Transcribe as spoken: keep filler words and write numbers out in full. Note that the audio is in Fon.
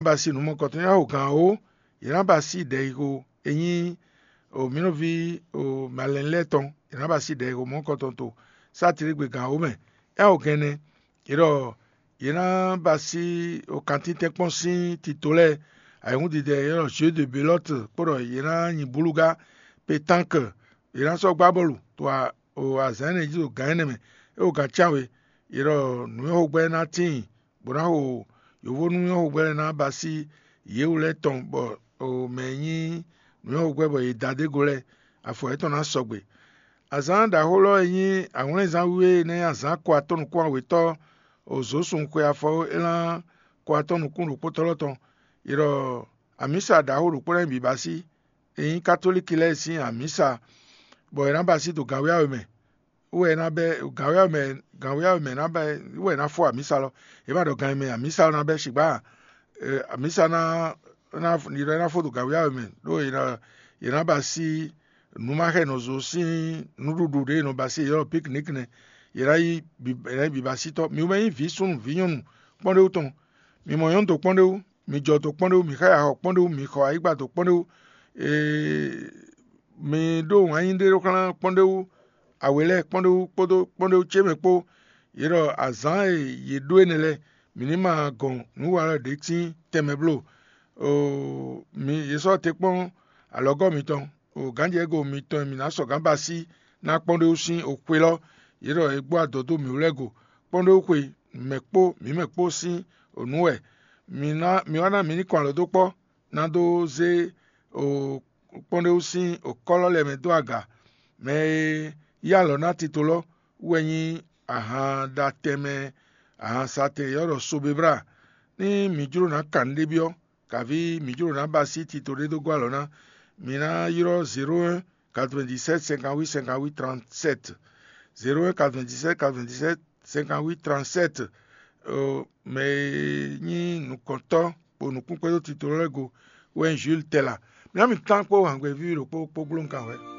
ba asi nǔ mɔkɔtɔn. Yě ná xo gǎn wǒ, yě ná ba asi ɖɛ̌xixo e nyí o mǐ nɔví o malɛnu lɛ́ɛ tɔn, yě ná ba asi ɖɛ̌xixo mɔkɔtɔn to sátidegbe gǎn wǒ mɛ. É ná xo gǎn ɛnɛ, yě ɖɔ yě ná ba asi o kantíntɛ́nkpɔ́n sín tito lɛ́ɛ, ayǐhúndidɛ yě ɖɔ jeu de belote kpó ɖɔ yě ná nyi búlúgá, pétanque, yě ná sɔ́ gbá bɔ́lu to o azǎn énɛ́ jí ɖo gǎn énɛ́ mɛ. É xo gǎn cyán we, yě ɖɔ nǔnywɛ́xogbɛ́ ná tíin, bó ná xo yǒvónú nywɛ́xogbɛ́ lɛ́ɛ ná ba asi yě wú lɛ́ɛ tɔn, bɔ mɛ e nyí nǔnywɛ́xogbɛ́ bɔ yě da dó é go lɛ́ɛ, afɔ yětɔn ná sɔgbe. Azǎn ɖaxó lɔ e nyí awlɛ́nzán wíwé e ná nyí azǎn ko atɔ́ nukún awětɔ́ o zǒsun xwe afɔ é ná ko atɔ́ nukún ɖokpótɔ́ lɔ tɔn. È ɖɔ amǐsa ɖaxó ɖokpó ná nyí bǐbá sí, e nyí katolíki lɛ́ɛ sín amǐsa, bɔ è nǎ ba sí dó gǎnwéyáwé mɛ. Wú wɛ é ná bɛ́ gǎnwéyáwé mɛ, gǎnwéyáwé mɛ ná bɛ́ wú wɛ é ná fó amǐsa lɔ. È má ɖɔ gan e mɛ amǐsa ɔ́ ná bɛ́ sigbá amǐsa ná ná yi ɖɔ é ná fó dó gǎnwéyáwé mɛ, ɖó è nǎ ba sí nǔ ma xɛ nɔ zo sín nǔɖuɖu ɖě è nɔ ba sí, è ylɔ́ piknik nɛ́. È nǎ yi è nǎ yi bǐbasítɔ́. Mi wɛ nyí vǐ súnnu vǐ nyɔ́nu kpɔ́n ɖé wú tɔn. Mi mɔ nyɔ̌nu dó kpɔ́n ɖé wú, mi jɔ dó kpɔ́n ɖé wú, mi xá ya xɔ kpɔ́n ɖé wú, mi xɔ ayǐgba dó kpɔ́n ɖé wú, mi ɖó wǎn yí ɖé ɖó xlán kpɔ́n ɖé wú, awě lɛ́ɛ kpɔ́n ɖé wú kpódó kpɔ́n ɖé wú ce mɛ kpó. Yě ɖɔ azǎn e yě ɖó énɛ́ lɛ́ɛ, mǐ ní ma gɔn nǔ walɔ ɖě sín tɛnmɛ bló. Oo, mi yě sɔ́ te kpɔ́n alɔgɔ́ mitɔn, o gǎnjɛgo mitɔn e mǐ ná sɔgǎn ba sí ná kpɔ́n ɖé wú sín oxwe lɔ, yě ɖɔ è gbɔ adɔ̌ dó mǐ wú lɛ́ɛ go. Kpɔ́n ɖé wú xwe mɛ kpó mǐ mɛ kpó sín nǔ wɛ. Mi ná mi wá ná mǐ ní kɔn alɔ dó kpɔ́, ná dó zé o kpɔ́n ɖé wú sín okɔ́ lɔ lɛ́ɛ mɛ dó aga. Mɛ e yí alɔ ná tito lɔ wú wɛ nyí ahan ɖa tɛnmɛ ahan satɛn e ylɔ́ ɖɔ Sobebla. Ní mǐ jló ná kan nǔɖé byɔ́, kaví mǐ jló ná ba sí tito ɖé dó gɔ́ alɔ ná, mi ná ylɔ́ zéro un quatre-vingt-dix-sept cinquante-huit cinquante-huit trente-sept. Zéro un quatre-vingt-dix-sept quatre-vingt-dix-sept cinquante-huit trente-sept. Mɛ e nyí nukɔntɔ́ kpo nukún kpódó tito lɛ́ɛ go wɛ nyí Jules Tɛla. Mǐ ná mi kán kpó hǎngbɛ́ víví ɖokpó kpó gbló nukɔn hwɛ̌.